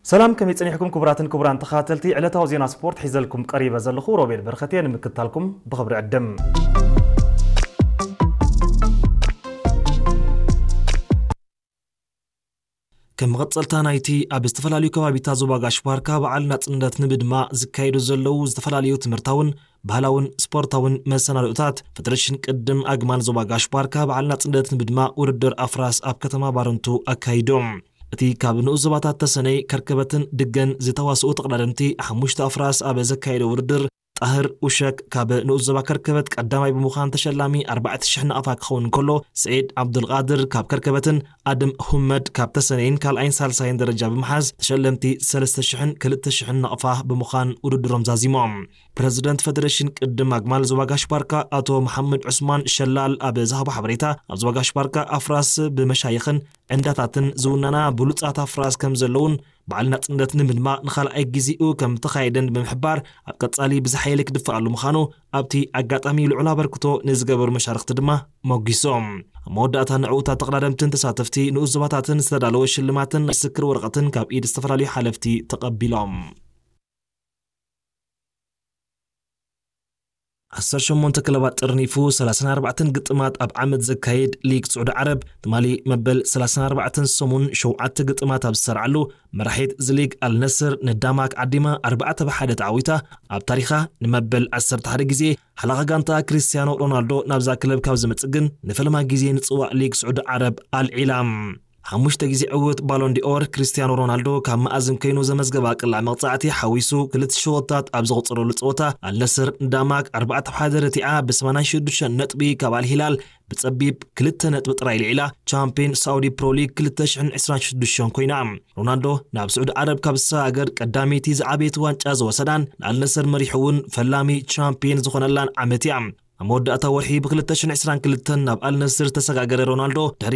ሰላም፣ ከመይ ጸኒሕኩም ክቡራትን ክቡራን ተኸታተልቲ ዕለታዊ ዜና ስፖርት? ሒዘልኩም ቀሪበ ዘለኹ ሮቤል በረኸት እየ። ንምክትታልኩም ብኽብሪ ዕድም። ከም መቐጸልታ ናይቲ ኣብ ዝተፈላለዩ ከባቢታት ዞባ ጋሽ ባርካ በዓል ናጽነት ንምድማቕ ዝካየዱ ዘለዉ ዝተፈላለዩ ትምህርታውን ባህላውን ስፖርታውን መሰናድኦታት፣ ፈደረሽን ቅድም ኣግማል ዞባ ጋሽ ባርካ በዓል ናጽነት ንምድማቕ ውድድር ኣፍራስ ኣብ ከተማ ባረንቱ ኣካይዶም። እቲ ካብ ንኡስ ዞባታት ተሰነይ፣ ከርከበትን ድገን ዝተዋስኡ ተቐዳደምቲ ሓሙሽተ ኣፍራስ ኣብ ዘካየደ ውድድር፣ ጣህር ኡሸክ ካብ ንኡስ ዞባ ከርከበት ቀዳማይ ብምዃን ተሸላሚ ኣርባዕተ ሽሕ ናቕፋ ክኸውን እንከሎ፣ ስዒድ ዓብዱልቃድር ካብ ከርከበትን ኣድም ሁመድ ካብ ተሰነይን ካልኣይን ሳልሳይን ደረጃ ብምሓዝ ተሸለምቲ ሰለስተ ሽሕን ክልተ ሽሕን ናቕፋ ብምዃን ውድድሮም ዛዚሞም። ፕረዚደንት ፈደረሽን ቅድም ኣግማል ዞባ ጋሽ ባርካ ኣቶ መሓመድ ዑስማን ሸላል ኣብ ዝሃቦ ሓበሬታ፣ ኣብ ዞባ ጋሽ ባርካ ኣፍራስ ብመሻይኽን ዕንዳታትን ዝውነና ብሉጻት ኣፍራስ ከም ዘለውን በዓል ናጽነት ንምድማቕ ንኻልኣይ ግዜኡ ከም ተኻየደን ብምሕባር፣ ኣብ ቀጻሊ ብዝሓየለ ክድፈኣሉ ምዃኑ ኣብቲ ኣጋጣሚ ልዑል ኣበርክቶ ንዝገበሩ መሻርኽቲ ድማ ሞጊሶም። ኣብ መወዳእታ ንዕዉታት ተቐዳደምትን ተሳተፍቲ ንኡስ ዞባታትን ዝተዳለወ ሽልማትን ናይ ምስክር ወረቐትን ካብ ኢድ ዝተፈላለዩ ሓለፍቲ ተቐቢሎም። ዓሰርተ ሸሞንተ ክለባት ጥርኒፉ ሰላሳን ኣርባዕተን ግጥማት ኣብ ዓመት ዘካይድ ሊግ ስዑዲ ዓረብ፣ ትማሊ መበል ሰላሳን ኣርባዕተን ሰሙን ሸውዓተ ግጥማት ኣብ ዝሰርዓሉ፣ መራሒት እዚ ሊግ ኣልነስር ንዳማክ ዓዲማ ኣርባዕተ ብ ሓደ ተዓዊታ፣ ኣብ ታሪኻ ንመበል ዓሰርተ ሓደ ግዜ ሓላኻ ጋንታ ክሪስቲያኖ ሮናልዶ ናብዛ ክለብ ካብ ዝመጽእ ግን ንፈለማ ግዜ ንጽዋዕ ሊግ ስዑዲ ዓረብ ኣልዒላ። ሓሙሽተ ግዜ ዕውት ባሎን ዲኦር ክሪስቲያኖ ሮናልዶ ካብ መኣዝን ኮይኑ ዘመዝገባ ቅላዕ መቕጻዕቲ ሓዊሱ ክልተ ሸወታት ኣብ ዘቑጸረሉ ጸወታ፣ ኣልነስር ንዳማክ ኣርባዕተ ብ ሓደ ረቲዓ ብ ሰማንያን ሽዱሽተን ነጥቢ ካብ ኣልሂላል ብጸቢብ ክልተ ነጥቢ ጥራይ ልዒላ ቻምፒዮን ሳውዲ ፕሮ ሊግ ክልተ ሽሕን ዕስራን ሽዱሽተን ኮይና። ሮናልዶ ናብ ስዑዲ ዓረብ ካብ ዝሰጋገር ቀዳመይቲ ዝዓበየት ዋንጫ ዝወሰዳን ንኣልነስር መሪሑ እውን ፈላሚ ቻምፒዮን ዝኾነላን ዓመት እያ። ኣብ መወዳእታ ወርሒ ብ ክልተ ሽሕን ዕስራን ክልተን ናብ ኣልነስር ዝተሰጋገረ ሮናልዶ ድሕሪ